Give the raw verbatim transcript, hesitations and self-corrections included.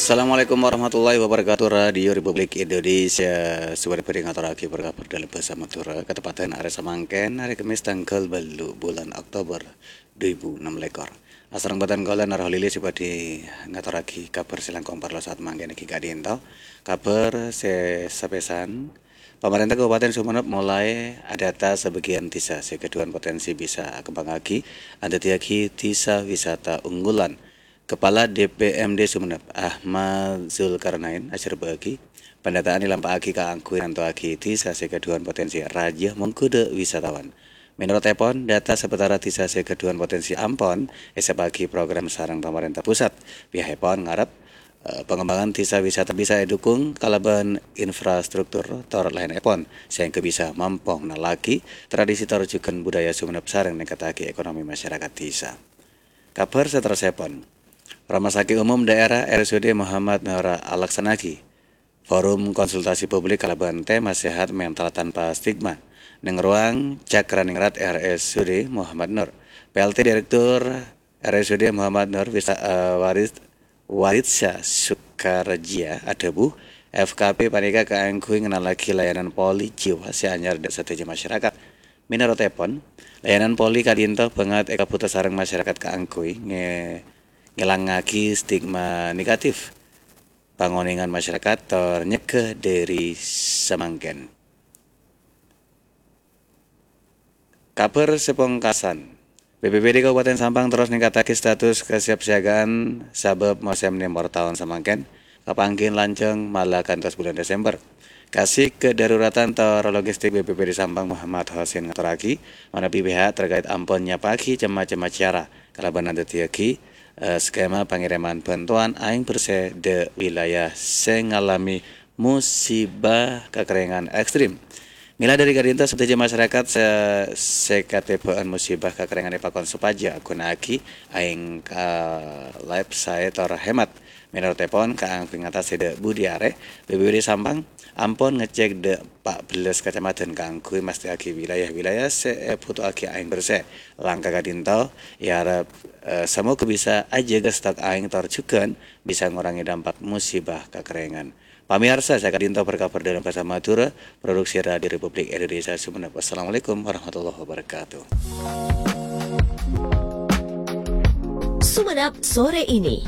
Assalamualaikum warahmatullahi wabarakatuh, Radio Republik Indonesia. Sobhâr-bhâri ngatorraghi kabar dâlem bhâsa Madhurâ, kateppaddhân arè samangkèn, arè Kemmès tangghâl bâllu' bulân Oktober dhu èbu ennem lèkor. Asareng bhâdhân kaulâ Nur Holili sè bhâdhi ngatorraghi kabar sè langkong parlo saat mangkèn èngghi ka'dinto. Kabar sè sapèsan, pamarènta Kabupaten Sumenep molaè adata sabâgiyân dhisa sè ghâdhuwân potènsi bisa akembhângaghi, adhâddhiyâghi dhisa wisata unggulan. Kepala D P M D Sumenep, Ahmad Zulkarnain, ajhârbâ'âghi, pandata'an èlampa'aghi kaangghuy nantowaghi dhisa sè ghâdhuwân potènsi rajâ mongghu dâ' wisatawan. Mènorot èpon, data sabâtara dhisa sè ghâdhuwân potènsi ampon èsèppaghi program sareng pamarènta pusat. Pihak èpon ngarep, eh, pangembangan dhisa wisata bisa èdhukung kalabân infrastruktur tor laèn èpon, sehingga bisa mampo nallaghi tradisi tor jhughân budaya Sumenep sareng ningkataghi ekonomi masyarakat dhisa. Kabar saterrossèpon, Rumah Sakit Umum Daerah R S U D Muhammad Nur alaksana'aghi forum konsultasi publik kalabân tema sehat mental tanpa stigma neng ruang Cakraningrat R S U D Muhammad Nur. P L T Direktur R S U D Muhammad Nur Wisa-, eh, Waris-, Waritsa Sukarjia adhâbu, F K P panèka kaangghuy ngennallaghi layanan poli jiwa sè anyar dâ' sadhâjâ masyarakat. Mènorot èpon, layanan poli ka'dinto bângèt èkabhuto sareng masyarakat kaangghuy ngè-, ngèlangngaghi stigma negatif, pangonèngan masyarakat tor nyegghâ dâri samangkèn. Kabar sè pongkasan, B P B D Kabupaten Sampang terros ningkataghi status kasiapsiagaan sabâb mosèm nèmor taon samangkèn, kapangghi lanjhâng mala kantos bulân Desember. Kasik kedaruratan tor logistik B P B D Sampang Muhammad Hosin ngatorraghi, manabi pihak terkait ampon nyapa'aghi cem-macem acara kalabân adhâddhiyâghi, eh, skema pangèrèman bhântowan aèng bersè dâ' wilayah sè ngalamè musibah kakerèngan ekstrem. Mèla dâri ka'dinto sadhâjâ masyarakat sè, sè katèbâ'ân musibah kakerèngan èpakon sopajâ aghuna'aghi aèng ka lèp saè tor hemat. Mènorot èpon, kaangghuy ngatasè dâ' budi arè, B P B D Sampang ampon ngecek dâ' pa' bellâs kacamadhân kaangghuy mastèyaghi wilayah-wilayah sè èbhuto'aghi aèng bersè. Langkah ka'dinto èarep, eh, samoga bisa ajâgâ stok aèng tor jhughân bisa ngorangè dampak musibah kakerèngan. Pamèyarsa, saka'dinto berkabar dâlem bhâsa Madhurâ, produksi Radio Republik Indonesia Sumenep. Wassalamualaikum warahmatullahi wabarakatuh. Sumenep sore ini.